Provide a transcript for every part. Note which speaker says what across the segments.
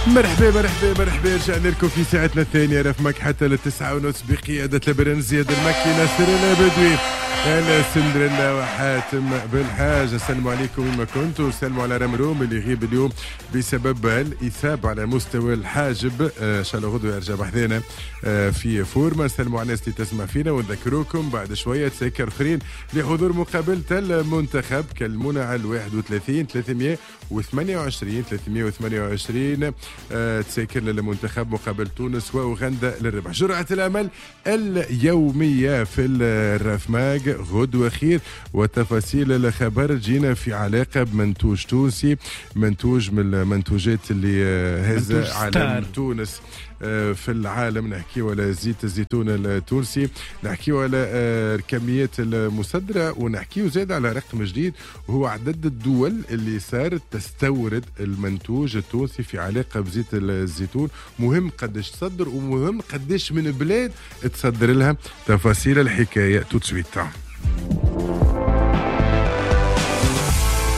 Speaker 1: مرحبا مرحبا مرحبا، رجعنا لكم في ساعتنا الثانية رفمك حتى 9:30 بقيادة البرنس زياد المكي، ناصر البدوي، أنا سندريلا وحاتم بالحاج. السلام عليكم وين ما كنتوا، سلموا على رمروم اللي يغيب اليوم بسبب الإصابة على مستوى الحاجب، إن شاء الله غدوة يرجع بحذانا في فورما. سلموا على الناس اللي تسمع فينا ونذكروكم بعد شوية تسكر أخرين لحضور مقابلة المنتخب. كلمونا على 31 328 328 تسكر للمنتخب مقابل تونس وأوغندا للربح. جرعة الأمل اليومية في الرفماج غدوة خير، وتفاصيل الخبر جينا في علاقة بمنتوج تونسي، منتوج من المنتوجات اللي هز علم تونس في العالم. نحكيو على زيت الزيتون التونسي، نحكيو على الكميات المصدرة، ونحكيو زاد على رقم جديد وهو عدد الدول اللي صارت تستورد المنتوج التونسي في علاقة بزيت الزيتون. مهم قداش تصدر ومهم قداش من بلاد تصدر لها. تفاصيل الحكاية tout de suite.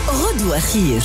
Speaker 2: غدوة خير.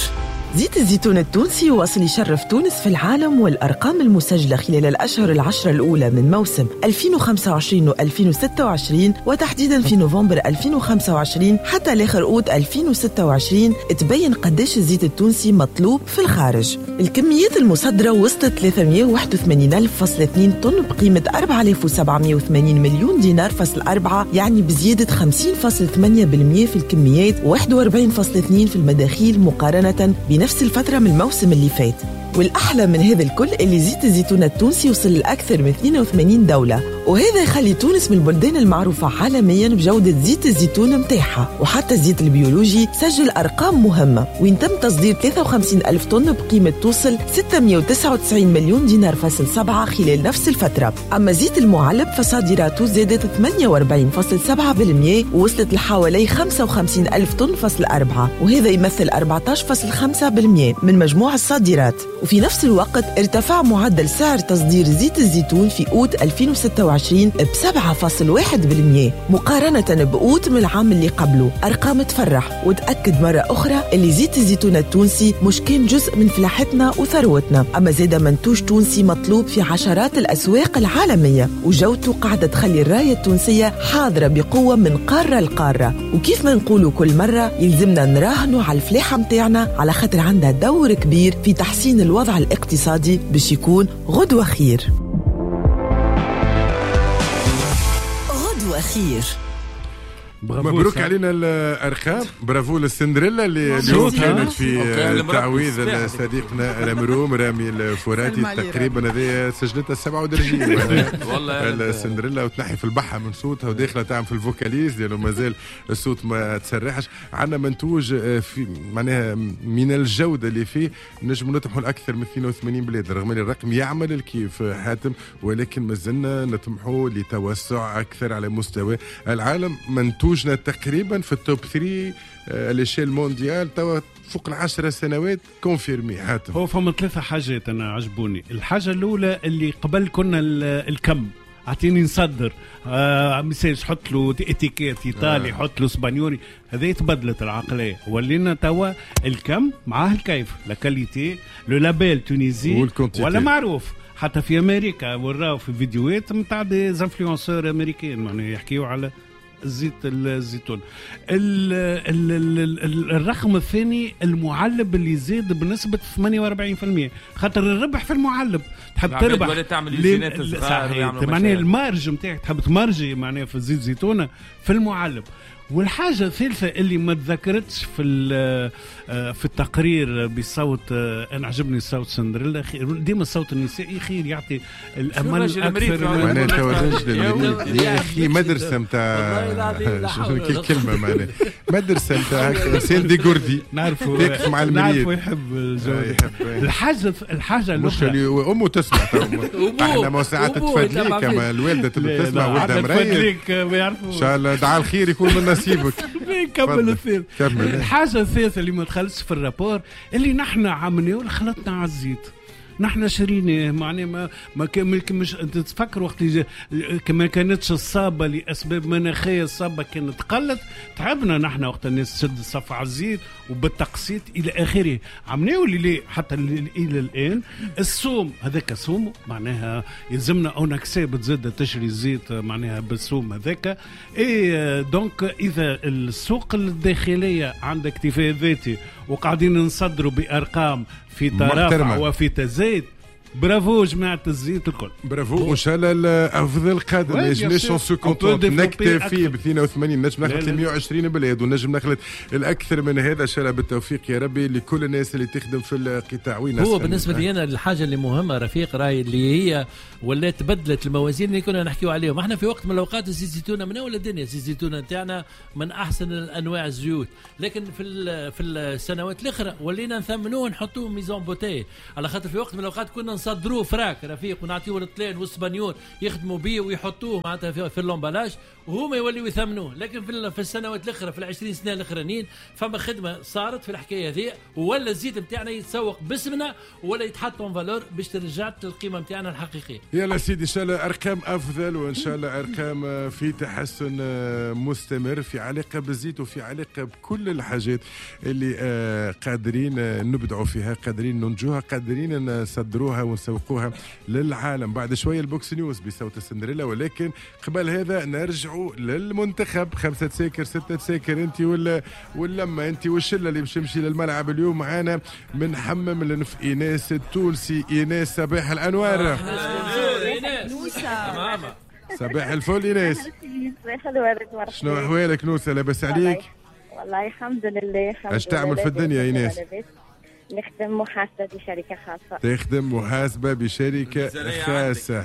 Speaker 2: زيت الزيتون التونسي واصل يشرف تونس في العالم، والأرقام المسجلة خلال الأشهر العشرة الأولى من موسم 2025 و2026 وتحديدا في نوفمبر 2025 حتى لآخر أوت 2026 تبين قداش الزيت التونسي مطلوب في الخارج. الكميات المصدرة وصلت 381.2 طن بقيمة 4780 مليون دينار فاصل 4، يعني بزيادة 50.8% في الكميات و41.2 في المداخيل مقارنة بنفس الفترة من الموسم اللي فات. والأحلى من هذا الكل اللي زيت الزيتون التونسي وصل لأكثر من 82 دولة، وهذا يخلي تونس من البلدان المعروفة عالميا بجودة زيت الزيتون متاعها. وحتى الزيت البيولوجي سجل أرقام مهمة، وين تم تصدير 53 ألف طن بقيمة توصل 699 مليون دينار فاصل 7 خلال نفس الفترة. أما زيت المعلب فصادراته زادت 48.7% ووصلت لحوالي 55 ألف طن فاصل 4، وهذا يمثل 14.5% من مجموع الصادرات. وفي نفس الوقت ارتفع معدل سعر تصدير زيت الزيتون في أوت 2026 ب 7.1% مقارنة بأوت من العام اللي قبله. أرقام تفرح وتأكد مرة أخرى اللي زيت الزيتون التونسي مش كان جزء من فلاحتنا وثروتنا، أما زاد منتوج تونسي مطلوب في عشرات الأسواق العالمية، وجودته قاعدة تخلي الراية التونسية حاضرة بقوة من قارة لقارة. وكيف ما نقولوا كل مرة يلزمنا نراهنوا على الفلاحة متاعنا، على خاطر عندها دور كبير في تحسين الوضع الاقتصادي باش يكون غدوة خير. غدوة خير.
Speaker 1: مبروك علينا الارقام، برافو للسندريلا اللي اليوم كانت في تعويذ صديقنا رمروم رامي الفوراتي. تقريبا هذه سجلتها 7 ودرجين والله السندريلا، وتنحي في البحه من صوتها وداخله تعمل في ال vocalise لانه مازال الصوت ما تسرحش. عندنا منتوج في معناها من الجودة اللي فيه نجم نطمحوا لاكثر من 82 بلاد، رغم ان الرقم يعمل الكيف حاتم، ولكن مازلنا نطمحوا لتوسع اكثر على مستوى العالم. منتوج تقريبا في ال top 3 à l'échelle mondiale توا فوق 10 سنوات confirmé. حاتم
Speaker 3: هو فما 3 حاجات انا عجبوني. الحاجة الاولى اللي قبل كنا الكم، اعطيني نصدر message، حط له اتيكيت ايطالي، حط له اسبانيولي، هذه تبدلت العقلية، ولينا توا الكم معاه الكيف، la qualité، le label Tunisie ولا معروف. حتى في امريكا وراو في فيديوهات نتاع des influenceurs امريكان معناها يحكيوا على زيت الزيتون. الرقم الثاني المعلب اللي زاد بنسبة 48%، خاطر الربح في المعلب تحب تربح
Speaker 4: ولا تعمل زينات صغار،
Speaker 3: معناها ال marge نتاعك تحب تمارجي معناها في زيت زيتونة في المعلب. والحاجة الثالثة اللي ما تذكرتش في في التقرير بصوت، أنا عجبني الصوت سندريلا، ديما الصوت النسائي خير يعطي الأمل أكثر.
Speaker 1: معناها يا أخي مدرسة متاع كلمة، معناها مدرسة متاع إنسان ديغوردي،
Speaker 3: نعرفوا
Speaker 1: مع
Speaker 3: نعرفوا يحب الجو. الحاجة الأخرى
Speaker 1: أمه تسمع، احنا ما ساعات تفدليك، أما الوالدة تسمع ولدها مريض إن شاء الله دعاء الخير يكون من نصيبك.
Speaker 3: كمل الثالث. الحاجة الثالثة اللي ما دخلتش في ال rapport اللي نحن عملناه خلطنا على الزيت. نحن شريناه، معناها ما مش تتفكر وقت ما كانتش الصابه لاسباب مناخيه، الصابه كانت قلت، تعبنا نحن وقت الناس تشد الصف على الزيت وبالتقسيط الى اخره. عملناه اللي حتى الى الان السوم هذاك سوم، معناها يلزمنا on accepte زاد تشري الزيت معناها بالسوم هذاك. et donc اذا السوق الداخلية عندك اكتفاء ذاتي وقاعدين نصدروا بارقام في ترافع وفي تزايد، برافو جماعة الزيت الكل،
Speaker 1: برافو، وان شاء الله الافضل قادم. ما يجبناش on se contente نكتفي ب 82، نجم نخلط 120 بلاد ونجم نخلط الاكثر من هذا. ان شاء الله بالتوفيق يا ربي لكل الناس اللي تخدم في القطاع. وين
Speaker 5: هو بالنسبة لي انا الحاجة اللي مهمة رفيق راي اللي هي ولات بدلت الموازين اللي كنا نحكيو عليهم احنا في وقت من الاوقات. الزيت الزيتونه من اول الدنيا، الزيت الزيتونه نتاعنا من احسن الانواع الزيوت، لكن في السنوات الاخرى ولينا نثمنوه نحطوه mise en bouteille، على خاطر في وقت من الاوقات كنا نصدروه vrac رفيق ونعطيوه للطليان والاسبانيول يخدموا بيه ويحطوه معناتها في l'emballage وهما يوليو يثمنوه. لكن في السنوات الاخرى في 20 سنة الاخرانيين فما خدمة صارت في الحكاية هذه، ولا الزيت نتاعنا يتسوق باسمنا ولا يتحط en valeur باش ترجع القيمة نتاعنا الحقيقية.
Speaker 1: يلا سيدي، ان شاء الله ارقام افضل وان شاء الله ارقام في تحسن مستمر في علاقة بالزيت وفي علاقة بكل الحاجات اللي قادرين نبدعوا فيها، قادرين ننجوها، قادرين نصدروها ونسوقوها للعالم. بعد شوية ال box news بصوت السندريلا، ولكن قبل هذا نرجعوا للمنتخب. 5 تساكر 6 تساكر، انت واللمه انت والشله اللي باش تمشي للملعب اليوم معانا من حمم لنف ايناس التونسي. ايناس صباح الانوار. صباح الفل ايناس. شنو احوالك نوسه؟ لاباس عليك؟
Speaker 6: والله الحمد لله.
Speaker 1: اش تعمل في الدنيا ايناس؟
Speaker 6: نخدم محاسبة بشركة خاصة.
Speaker 1: تخدم محاسبة بشركة خاصة.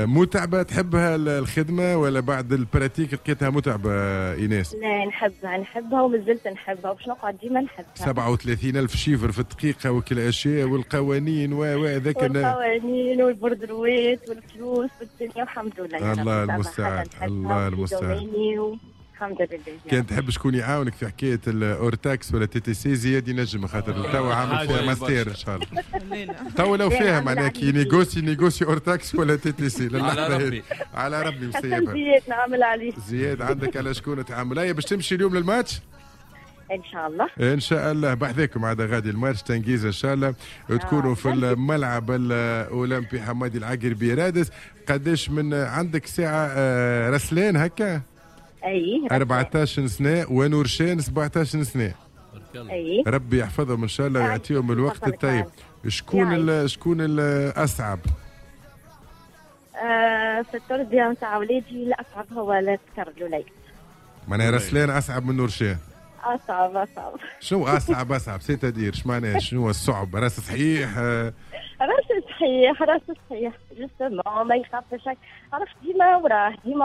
Speaker 1: متعبة؟ تحبها الخدمة ولا بعد ال pratique لقيتها متعبة إيناس؟
Speaker 6: لا نحبها ومازلت نحبها وباش نقعد ديما نحبها.
Speaker 1: 37,000 chiffres في الدقيقة وكل أشياء والقوانين وذاك
Speaker 6: والقوانين وال bordereau ات والفلوس والدنيا، والحمد لله.
Speaker 1: الله المستعان، الله المستعان.
Speaker 6: الحمد لله.
Speaker 1: كان تحب شكون يعاونك في حكاية ال hors taxe ولا TTC زياد ينجم، خاطر توا عامل فيها ماستير ان شاء الله. توا لو فيها معناها كي négocie hors taxe ولا TTC
Speaker 4: على ربي،
Speaker 1: على ربي مسيبها.
Speaker 6: زياد نعمل عليه.
Speaker 1: زياد عندك على شكون تعمل. هيا باش تمشي اليوم للماتش؟
Speaker 6: ان شاء الله.
Speaker 1: ان شاء الله بحذاكم عاد غادي الماتش تنجيز ان شاء الله تكونوا في الملعب الاولمبي حمادي العقربي رادس. قداش من عندك ساعة رسلان هكا؟
Speaker 6: اي
Speaker 1: 14 سنة ونورشان 17 سنة.
Speaker 6: اي
Speaker 1: ربي يحفظهم ان شاء الله ويعطيهم الوقت الطيب. شكون الاصعب؟
Speaker 6: في التربية نتاع ولادي الاصعب هو الذكر الوليد.
Speaker 1: معناها رسلان اصعب من نورشان؟
Speaker 6: اصعب.
Speaker 1: شنو اصعب؟ c'est-à-dire اش معناها؟ شنو الصعب؟ راس صحيح؟
Speaker 6: راس صحيح justement ما يخافش، عرفت ديما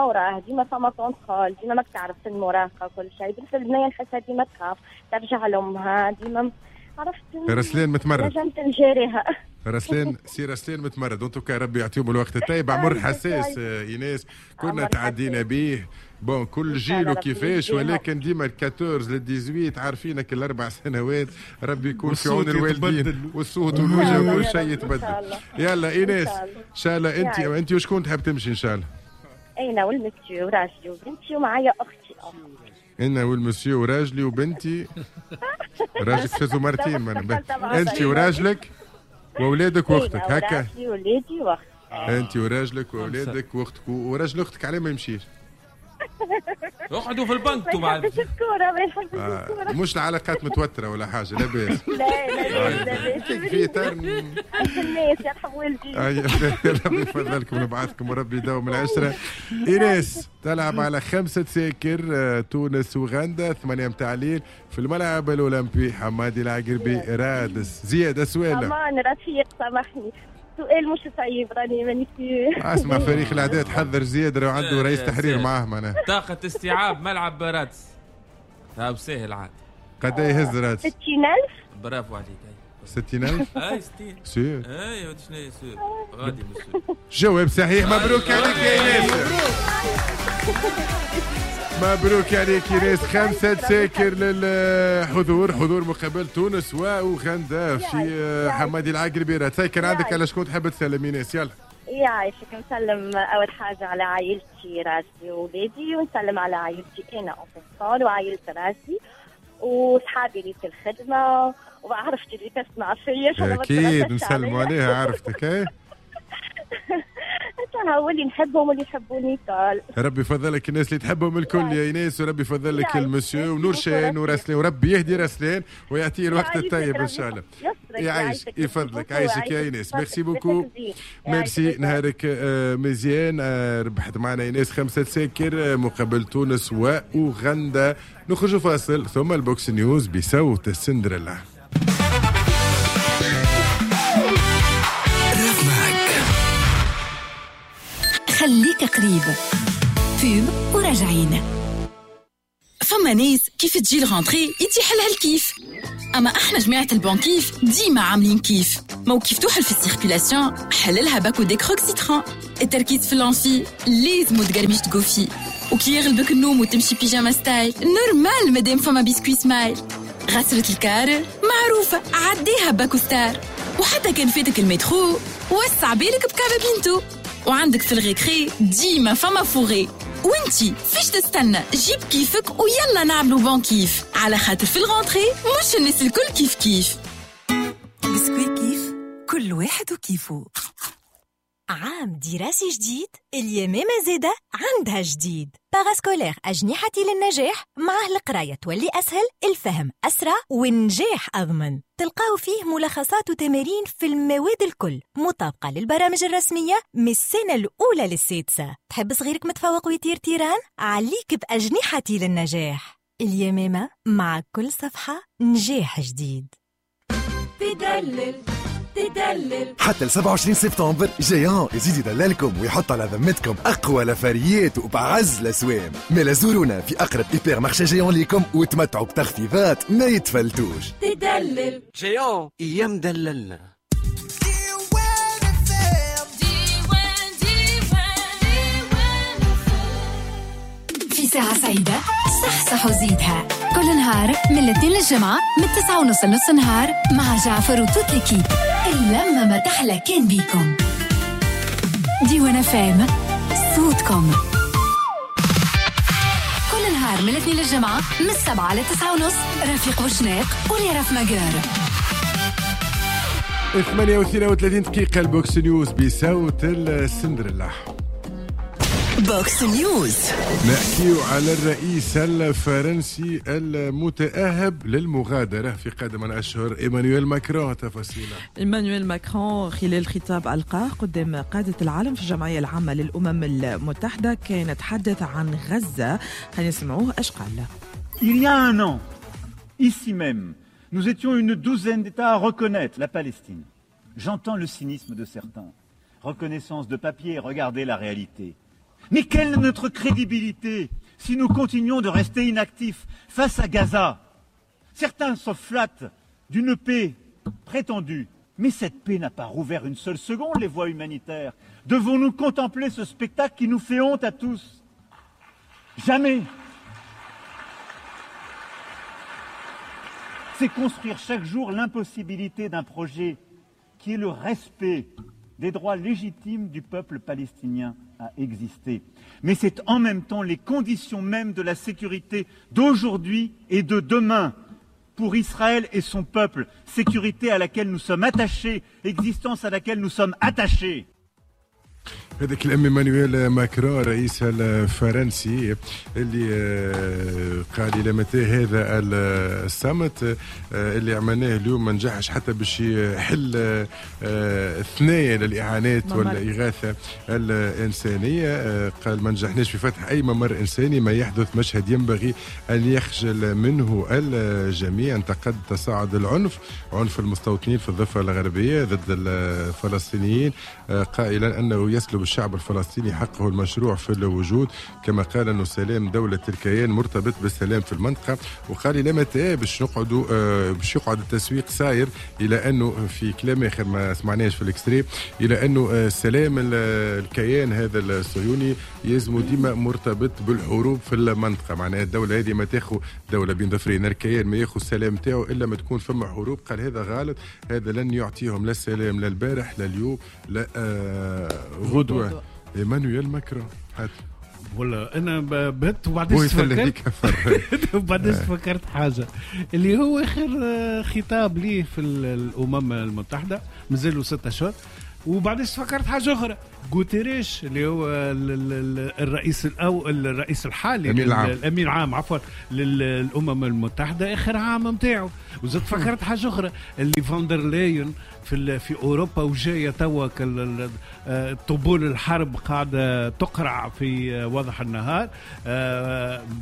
Speaker 6: وراه ديما فما contrôle، ديما ماك تعرف المراهقة وكل شيء. بالنسبة للبنيه نحسها ديما تخاف ترجع لامها ديما، عرفت
Speaker 1: رسلان متمرد
Speaker 6: نجمت نجاريها.
Speaker 1: رسلان متمرد. en tout cas ربي يعطيهم الوقت الطيب. عمر حساس ايناس كنا تعدينا به bon كل جيل وكيفاش، ولكن ديما 14 ل 18 عارفينك الاربع سنوات ربي يكون في عون الوالدين والصوت والوجه وكل شيء يتبدل. يلا ايناس ان شاء الله انت وشكون تحب تمشي ان شاء الله؟
Speaker 6: انا والمسيو وراجلي وبنتي ومعايا اختي.
Speaker 1: انا والمسيو وراجلي وبنتي. راجلك فازوا مرتين. انت وراجلك واولادك واختك هكا؟
Speaker 6: راجلي وولادي واختي.
Speaker 1: انت وراجلك واولادك واختك وراجل اختك عليه ما يمشيش.
Speaker 4: اقعدوا في البنك
Speaker 6: ما يحبش الكورة، ما يحبش الكورة.
Speaker 1: مش العلاقات متوترة ولا حاجة؟ لا باس.
Speaker 6: لا لا
Speaker 1: في اطار
Speaker 6: الناس يرحم والديك.
Speaker 1: ربي يفضلكم ونبعثكم وربي يداوم العشرة. ايناس تلعب على 5 تساكر تونس وغندا 8 متاع الليل في الملعب الاولمبي حمادي العقربي رادس. زياد السؤال.
Speaker 6: امان رفيق سامحني سؤال مش صعيب راني ماني في
Speaker 1: اسمع فريق الاعداد حذر زياد راه عنده رئيس تحرير معاه معناها.
Speaker 4: طاقة استيعاب ملعب رادس هاو ساهل عاد.
Speaker 1: قد يهز رادس؟
Speaker 6: 60000.
Speaker 4: برافو عليك.
Speaker 1: 60000؟
Speaker 4: اي 60
Speaker 1: sûr.
Speaker 4: اي شنو هي sûr غادي مسيو.
Speaker 1: جواب صحيح، مبروك عليك يا ايناس. مبروك عليك ايناس، 5 تساكر للحضور، حضور مقابل تونس واوغندا في حمادي العقربي. تساكر عندك على شكون تحب تسلم ايناس؟ يلا.
Speaker 6: يعيشك. نسلم اول حاجة على عائلتي راجلي وولادي، ونسلم على عائلتي انا en وعائلة راجلي وصحابي اللي في الخدمة وعرفتي اللي تسمع فيا.
Speaker 1: اكيد نسلموا عليها عرفتك. ايه
Speaker 6: هو اللي نحبهم واللي يحبوني الكل.
Speaker 1: ربي يفضلك الناس اللي تحبهم الكل يا ايناس، وربي يفضلك المسيو ونور شان ورسلين، وربي يهدي رسلين ويعطيه الوقت الطيب ان شاء الله. يعيشك يفضلك، عايشك يا ايناس، merci beaucoup، merci، نهارك مزيان. ربحت معنا ايناس 5 تساكر مقابل تونس واوغندا. نخرج فاصل ثم ال box news بصوت السندريلا.
Speaker 7: خليك قريب pub وراجعين. فما ناس كيف تجي ال rentrée يتيح لها الكيف، اما احنا جماعة ال bon كيف ديما عاملين كيف. مو كيف توحل في ال circulation حللها باكو Décroc citron. التركيز في l'amphi لازم تقرميش تقوفي، وكي يغلبك النوم وتمشي pyjama style normal مادام فما biscuit Smile. غسرة الكار معروفة عديها باكو Star، وحتى كان فاتك المترو وسع بالك بكابا بينتو. وعندك في ال récré ديما فما فوغي، وانتي فيش تستنى جيب كيفك ويلا نعملو bon كيف، على خاطر في ال rentrée مش الناس الكل كيف كيف.
Speaker 8: بسكوي كيف كل واحد وكيفه. عام دراسي جديد، اليمامة زادة عندها جديد. parascolaire أجنحتي للنجاح، معه القراية تولي أسهل، الفهم أسرع والنجاح أضمن. تلقاو فيه ملخصات وتمارين في المواد الكل مطابقة للبرامج الرسمية من السنة الأولى للسادسة. تحب صغيرك متفوق ويطير تيران؟ عليك بأجنحتي للنجاح. اليمامة مع كل صفحة نجاح جديد.
Speaker 9: تدلل تدلل
Speaker 10: حتى ل 27 سبتمبر Géant يزيد يدللكم ويحط على ذمتكم اقوى لفاريات وبعز الاسوام. مالا زورونا في اقرب hypermarché Géant ليكم وتمتعوا بتخفيضات ما يتفلتوش.
Speaker 9: تدلل
Speaker 11: Géant يا مدللنا.
Speaker 7: في ساعة سعيدة صح صح وزيدها كل نهار من الاثنين للجمعة من 9:30 لنص النهار مع جعفر و toute l'équipe. اللمة ما تحلى كان بيكم. ديوان FM صوتكم كل نهار من الاثنين للجمعة من 7 ل 9:30. رفيق بوشناق ولي ماجر.
Speaker 1: 8:32 دقيقة. ال box news بصوت السندريلا.
Speaker 2: box news
Speaker 1: نحكيو على الرئيس الفرنسي المتأهب للمغادرة في قادم الأشهر إيمانويل ماكرون. تفاصيله.
Speaker 2: إيمانويل ماكرون خلال خطاب ألقاه قدام قادة العالم في الجمعية العامة للأمم المتحدة كان تحدث عن غزة. خلينا نسمعوه اش قال.
Speaker 12: Il y a un an, ici même, nous étions une douzaine d'États à reconnaître la Palestine. J'entends le cynisme de certains. Reconnaissance de papier, regardez la réalité. Mais quelle est notre crédibilité si nous continuons de rester inactifs face à Gaza? Certains se flattent d'une paix prétendue. Mais cette paix n'a pas rouvert une seule seconde les voies humanitaires. Devons-nous contempler ce spectacle qui nous fait honte à tous? Jamais. C'est construire chaque jour l'impossibilité d'un projet qui est le respect des droits légitimes du peuple palestinien à exister. Mais c'est en même temps les conditions mêmes de la sécurité d'aujourd'hui et de demain pour Israël et son peuple, sécurité à laquelle nous sommes attachés, existence à laquelle nous sommes attachés.
Speaker 1: هذاك الام ايمانويل ماكرون الرئيس الفرنسي اللي قال الى متى هذا الصمت اللي عملناه اليوم ما نجحش حتى باش يحل ثنايا للاعانات والاغاثه الانسانية. قال ما نجحناش في فتح اي ممر انساني، ما يحدث مشهد ينبغي ان يخجل منه الجميع. انتقد تصاعد العنف، عنف المستوطنين في الضفة الغربية ضد الفلسطينيين، قائلا انه يسلب الشعب الفلسطيني حقه المشروع في الوجود. كما قال أنه سلام دولة الكيان مرتبط بالسلام في المنطقة. وقال إلى متى باش نقعدوا باش يقعد التسويق ساير، إلى أنه في كلام آخر ما سمعناش في ال extrait، إلى أنه سلام الكيان هذا الصهيوني يلزم ديما مرتبط بالحروب في المنطقة. معناها الدولة هذه ما تاخذ دولة بين ظفرين، الكيان ما ياخذ السلام تاعو إلا ما تكون فما حروب. قال هذا غلط، هذا لن يعطيهم لا السلام لا البارح لا اليوم لا غدوة. إيمانويل ماكرون
Speaker 3: ولا انا بهت. وبعدين تفكرت وبعدين فكرت حاجة اللي هو اخر خطاب ليه في الامم المتحدة، مازالوا 6 اشهر. وبعدين فكرت حاجة اخرى، غوتيريش اللي هو الرئيس الرئيس الحالي الامين العام عفوا للامم المتحدة، اخر عام نتاعو. وزدت فكرت حاجة اخرى اللي فاندرلاين في اوروبا وجاية توا طبول الحرب قاعدة تقرع في وضح النهار.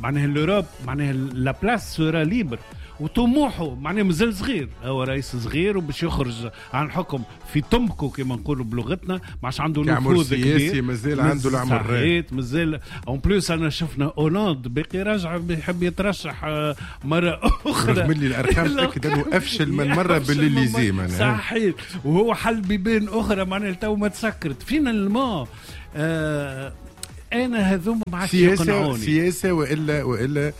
Speaker 3: معناها l'Europe معناها la place sera libre. وطموحه معناه مازال صغير، هو رئيس صغير وباش يخرج عن الحكم في طمكو كما نقولوا بلغتنا، ما عادش عنده نفوذ كبير،
Speaker 1: مازال عنده العمر
Speaker 3: مازال. en plus انا شفنا هولاند باقي راجع بيحب يترشح مرة اخرى،
Speaker 1: رغم اللي الارقام تاكد انه افشل من مرة بالليزي معناها
Speaker 3: صحيح، وهو حل بيبان اخرى معناها تو ما تسكرت finalement. انا هذوما ما عادش يقنعوني
Speaker 1: سياسة والا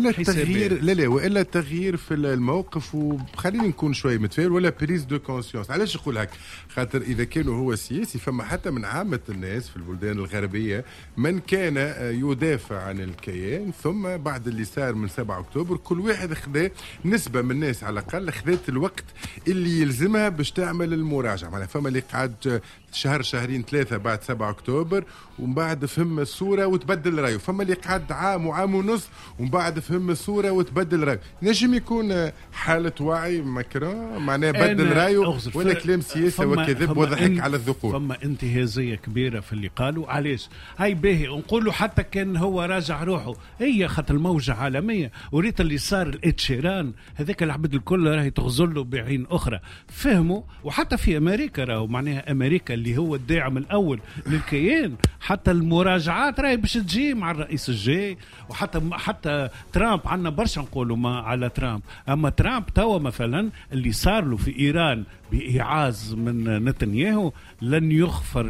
Speaker 1: التغيير، لا والا التغيير في الموقف. وخليني نكون شوي متفائل، ولا prise de conscience. علاش نقول هكا؟ خاطر اذا كانوا هو سياسي فما حتى من عامة الناس في البلدان الغربية من كان يدافع عن الكيان، ثم بعد اللي صار من 7 اكتوبر كل واحد خذا نسبه من الناس على الاقل خذت الوقت اللي يلزمها باش تعمل المراجعة. معناها فما اللي قعد شهر شهرين ثلاثة بعد 7 اكتوبر ومن بعد فهم الصورة وتبدل رايه، فما اللي قعد عام وعام ونص ومن بعد فهم الصورة وتبدل رايه. نجم يكون حاله وعي ماكرون معناها بدل رايه، ولا كلام سياسة وكذب وضحك على الذقون.
Speaker 3: فما انتهازيه كبيرة في اللي قالوا. علاش هاي باهي نقولوا حتى كان هو راجع روحه، هي خاطر الموجه عالمية وريت اللي صار الاتشيران هذاك العبد الكل راهي تغزل له بعين اخرى، فهموا. وحتى في امريكا راهو معناها امريكا اللي هو الداعم الاول للكيان، حتى المراجعات راهي باش تجي مع الرئيس الجاي. وحتى حتى ترامب عندنا برشا نقولوا ما على ترامب، اما ترامب توا مثلا اللي صار له في ايران بإيعاز من نتنياهو لن يغفر،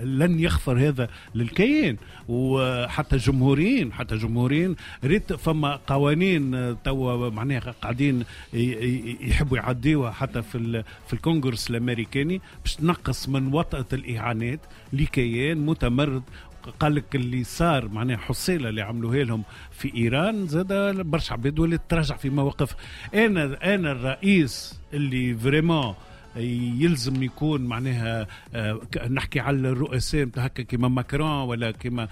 Speaker 3: لن يغفر هذا للكيان. وحتى جمهوريين، حتى جمهوريين ريت فما قوانين توا معناها قاعدين يحبوا يعديوها حتى في الكونغرس الامريكاني باش تنقص من وطأة الاعانات لكيان متمرد. قال لك اللي صار معناها حصيله اللي عملوها لهم في ايران زاد برشا عباد ولات تراجع في مواقف. انا الرئيس اللي vraiment يلزم يكون معناها نحكي على الرؤساء نتاع هكا كيما ماكرون ولا كيما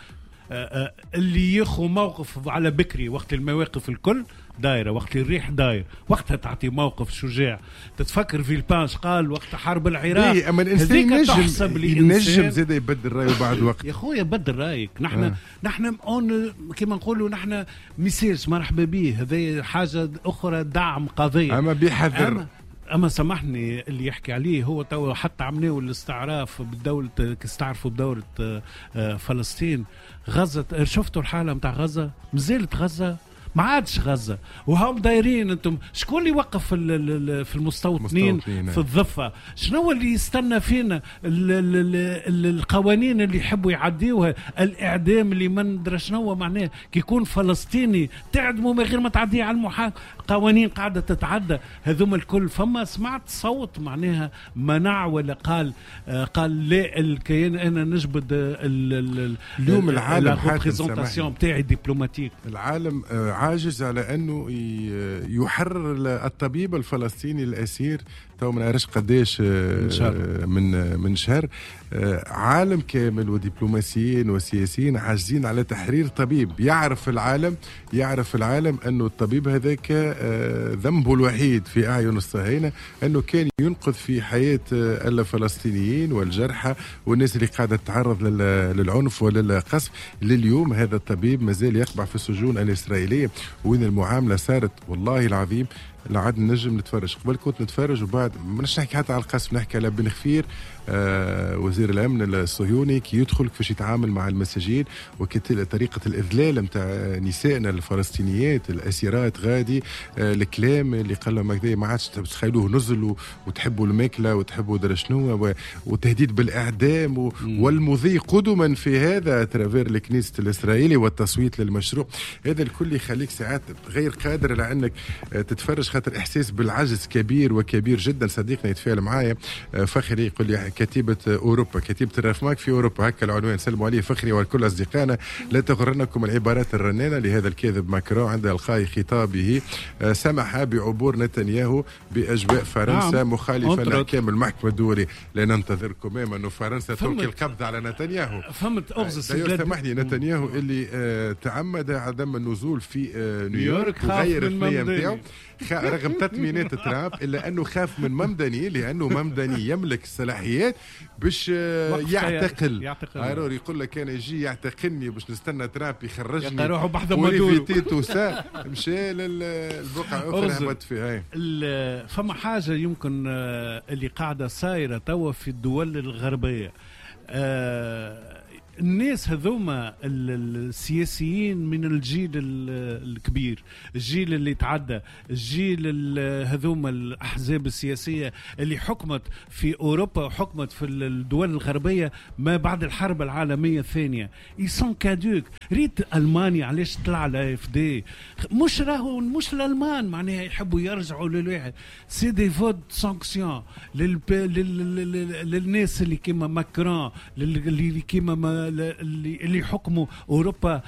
Speaker 3: اللي يخو موقف على بكري وقت المواقف الكل دايرة، وقت الريح داير، وقتها تعطي موقف شجاع. تتفكر في البانش قال وقت حرب العراق،
Speaker 1: اما الانسان ينجم زاد يبدل رايه بعد وقت.
Speaker 3: يا خويا بدل رايك. نحن نحن كيما نقولوا نحن ميسيرش مرحبا به، هذه حاجة اخرى دعم قضية،
Speaker 1: اما بحذر.
Speaker 3: اما سامحني اللي يحكي عليه هو تو حتى عملوا الاستعراف بالدولة، استعرفوا بدولة فلسطين. غزة شفتوا الحالة نتاع غزة، مازالت غزة ما عادش غزة وهم دايرين. انتم شكون اللي وقف في المستوطنين في الضفة؟ شنو اللي يستنى فينا؟ القوانين اللي يحبوا يعديوها، الاعدام اللي ما ندري شنو معناه كي يكون فلسطيني تعدموا من غير ما تعديه على المحاكمة، قوانين قاعدة تتعدى هذوما الكل. فما سمعت صوت معناها منع ولا قال قال لا الكيان انا نجبد
Speaker 1: اليوم العالم
Speaker 3: représentation تاعي diplomatique.
Speaker 1: العالم عاجز على أنه يحرر الطبيب الفلسطيني الأسير تو ما نعرفش قداش من شهر. عالم كامل ودبلوماسيين وسياسيين عاجزين على تحرير طبيب. يعرف العالم أنه الطبيب هذاك ذنبه الوحيد في أعين الصهاينة أنه كان ينقذ في حياة الفلسطينيين والجرحى والناس اللي قاعدة تتعرض للعنف وللقصف. لليوم هذا الطبيب مازال يقبع في السجون الإسرائيلية، وين المعاملة صارت والله العظيم لا عاد نجم نتفرج. قبل كنت نتفرج وبعد ماناش نحكي حتى على القصف، نحكي على بن خفير وزير الامن الصهيوني كي يدخل كيفاش يتعامل مع المساجين وطريقه الاذلال نتاع نسائنا الفلسطينيات الاسيرات غادي، الكلام اللي قال لهم هكذا ما عادش تخيلوه نزل وتحبوا الماكلة وتحبوا درا شنو وتهديد بالاعدام والمضي قدما في هذا à travers الكنيست الاسرائيلي والتصويت للمشروع هذا الكل يخليك ساعات غير قادر على انك تتفرج، خاطر احساس بالعجز كبير وكبير جدا. صديقنا يتفاعل معايا فخري يقول لي كتيبة أوروبا، كتيبة الرفماك في أوروبا، هكا العنوان. سلموا عليه فخري والكل أصدقائنا. لا تغرنكم العبارات الرنانة لهذا الكاذب ماكرون عند إلقاء خطابه سمح بعبور نتنياهو بأجواء فرنسا مخالفة لأحكام المحكمة الدولية. لا ننتظركم أنه فرنسا تلقي القبض على نتنياهو.
Speaker 3: فهمت أغزس
Speaker 1: سامحني، نتنياهو اللي تعمد عدم النزول في نيويورك وغير الثنية نتاعو رغم تطمينات ترامب، إلا أنه خاف من ممدني لأنه ممدني يملك الصلاحيات باش يعتقل. ارور يقول لك انا يجي يعتقلني باش نستنى ترامب يخرجني pour éviter tout ça. مشى للبقعة اخرى هبط فيها.
Speaker 3: فما حاجة يمكن اللي قاعدة صايرة توا في الدول الغربية، الناس هذوما السياسيين من الجيل الكبير، الجيل اللي تعدى، الجيل هذوما الأحزاب السياسية اللي حكمت في أوروبا وحكمت في الدول الغربية ما بعد الحرب العالمية الثانية، ils sont caducs. ريت ألمانيا علاش طلع l'AfD؟ مش راهو مش الألمان معناها يحبوا يرجعوا للواحد، c'est des votes sanction للناس اللي كيما ماكرون، اللي كيما اللي حكموا اوروبا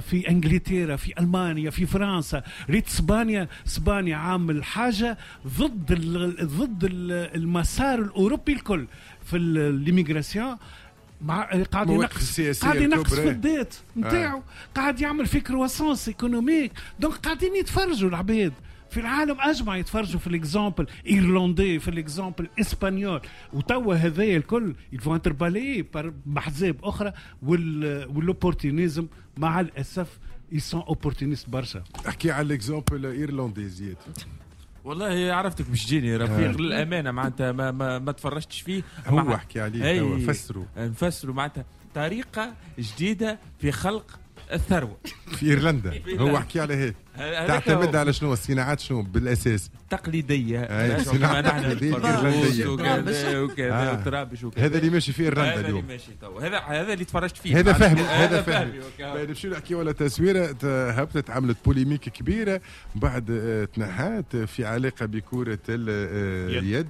Speaker 3: في انجلترا، في المانيا، في فرنسا. ريت اسبانيا، اسبانيا عامل حاجة ضد المسار الاوروبي الكل في l'immigration، مع قاعد ينقص، قاعد ينقص في ال dette نتاعو، قاعد يعمل في croissance économique. donc قاعدين يتفرجوا العباد في العالم اجمع، يتفرجوا في l'exemple irlandais، في l'exemple espagnol. وتوا هذايا الكل ils vont être balayés باحزاب اخرى وال opportunisme مع الاسف ils sont opportunistes برشا.
Speaker 1: احكي على l'exemple irlandais زياد.
Speaker 4: والله عرفتك باش تجيني رفيق للامانة، معناتها ما تفرجتش فيه.
Speaker 1: هو احكي عليه توا، فسروا
Speaker 4: نفسروا معناتها طريقه جديدة في خلق الثروة
Speaker 1: في ايرلندا. هو حكي على هيك، تعتمد على شنو الصناعات، شنو بالاساس
Speaker 4: تقليدية،
Speaker 1: صناعة تقليدية ايرلنديه
Speaker 4: وكذا وترابش وكذا.
Speaker 1: هذا اللي ماشي في ايرلندا اليوم،
Speaker 4: هذا اللي ماشي تو، هذا اللي تفرجت فيه،
Speaker 1: هذا فهمي، هذا فهمي. نمشيو نحكيو على تسويره هبطت عملت polémique كبيرة بعد تنحات في علاقة بكره اليد.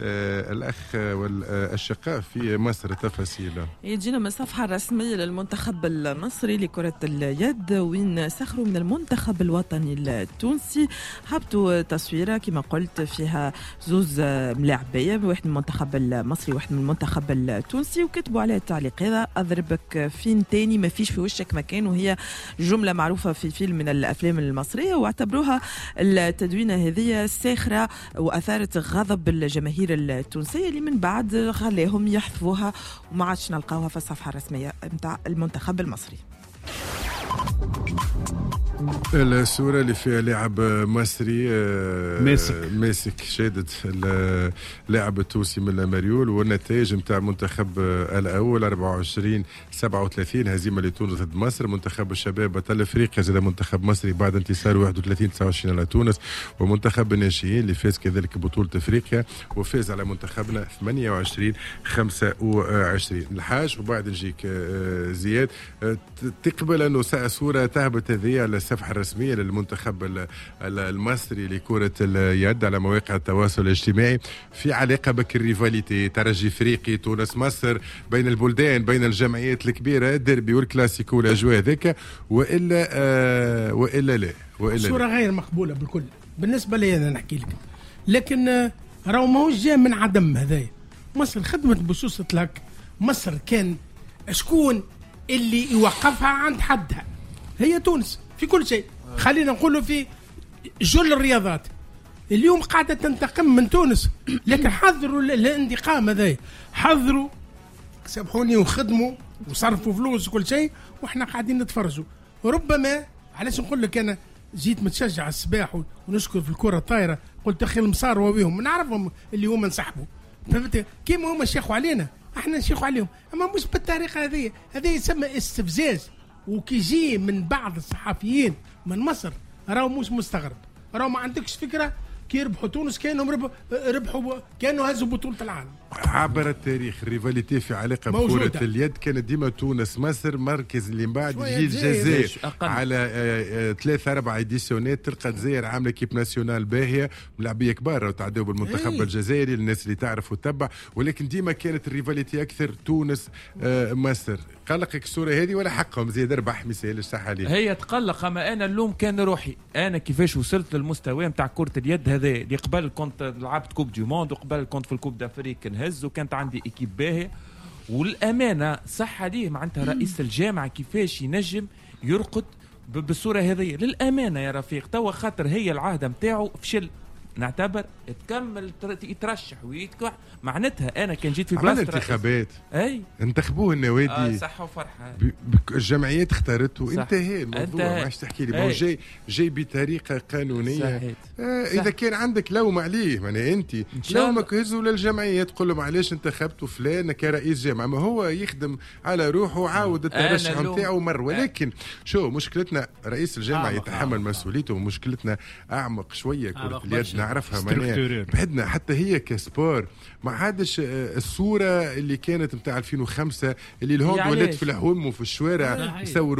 Speaker 1: الاخ والاشقاء في مصر تفاصيل
Speaker 2: يجينا من الصفحة الرسمية للمنتخب المصري لكرة اليد، وين سخروا من المنتخب الوطني التونسي. هبطوا تصويره كما قلت فيها زوز ملاعبيه، واحد من المنتخب المصري وواحد من المنتخب التونسي، وكتبوا عليه التعليق هذا: اضربك فين تاني، ما فيش في وشك مكان. وهي جملة معروفة في فيلم من الافلام المصرية، واعتبروها التدوينه هذه ساخرة واثارت غضب الجماهير التونسية اللي من بعد خلاهم يحذفوها وما عادش نلقاوها في الصفحة الرسمية نتاع المنتخب المصري.
Speaker 1: الصورة اللي فيها لاعب مصري ماسك شادد اللاعب التونسي من المريول، والنتائج نتاع المنتخب الأول 24-37 هزيمة لتونس ضد مصر. منتخب الشباب بطل افريقيا زاد منتخب مصري بعد انتصار 31-29 على تونس، ومنتخب الناشئين اللي فاز كذلك بطولة افريقيا وفاز على منتخبنا 28-25. الحاج وبعد نجيك زياد، تقبل انه صورة تهبط هذه على الصفحة الرسمية للمنتخب المصري لكرة اليد على مواقع التواصل الاجتماعي في علاقة بك ال rivalité ترجي افريقي تونس مصر بين البلدان بين الجمعيات الكبيرة، الديربي والكلاسيكو والأجواء هذيك، وإلا لا؟ وإلا
Speaker 13: صورة غير مقبولة بالكل بالنسبة لي أنا نحكي لك، لكن راهو ماهوش جاي من عدم. هذايا مصر خدمت بصوصة لك، مصر كان شكون اللي يوقفها عند حدها؟ هي تونس في كل شيء، خلينا نقوله في جل الرياضات. اليوم قاعدة تنتقم من تونس، لكن حذروا الانتقام هذا، حذروا سامحوني وخدموا وصرفوا فلوس وكل شيء، واحنا قاعدين نتفرجوا. ربما علاش نقول لك انا جيت متشجع الصباح ونشكر في الكره الطايره، قلت اخي المصار وبيهم نعرفهم اللي هما انسحبوا، فهمت؟ كيما هما شيخوا علينا احنا نشيخوا عليهم، اما مش بالطريقة هذه. هذا يسمى استفزاز، وكي يجي من بعض الصحفيين من مصر راهو مش مستغرب، راهو ما عندكش فكرة كي يربحوا تونس كانهم ربحوا كانوا هزوا بطوله العالم.
Speaker 1: عبر التاريخ ال rivalité في علاقة بكره اليد كانت ديما تونس مصر، مركز اللي من بعد يجي الجزائر على 3 4 édition ات، تلقى الجزائر عامله équipe nationale باهيه، ملاعبيه كبار وتعداو بالمنتخب الجزائري للناس اللي تعرف وتتبع، ولكن ديما كانت ال rivalité اكثر تونس مصر. قلقك الصورة هذه ولا حقهم زيد ربح مثال صح عليه؟
Speaker 4: هي تقلق، اما انا اللوم كان روحي، انا كيفاش وصلت للمستوى نتاع كره اليد هذا اللي قبل كنت لعبت coupe du monde وقبل كنت في ال coupe d'Afrique نهز، وكانت عندي équipe باهيه. والامانة صح عليه معناتها رئيس الجامعة كيفاش ينجم يرقد بالصورة هذه؟ للامانة يا رفيق توا خاطر هي العهده نتاعو فشل، نعتبر تكمل يترشح ويتكح، معناتها انا كان جيت في بلاصة
Speaker 1: انتخابات اي انتخبوه النوادي
Speaker 4: صح وفرحه،
Speaker 1: الجمعيات اختارته، انتهى الموضوع، ما عادش تحكي لي جاي جاي بطريقة قانونية. اذا كان عندك لوم عليه، معناها انت لومك هزوا للجمعيات تقول لهم علاش انتخبتوا فلان كرئيس جامعه، ما هو يخدم على روحه وعاود الترشح نتاعو مر. ولكن شو مشكلتنا؟ رئيس الجامعة يتحمل مسؤوليته، ومشكلتنا اعمق شوية كره اليد نعرفها معناها بعدنا حتى هي ك sport ما عادش الصورة اللي كانت نتاع 2005 اللي ال hand ولات في الحوم وفي الشوارع يصوروا.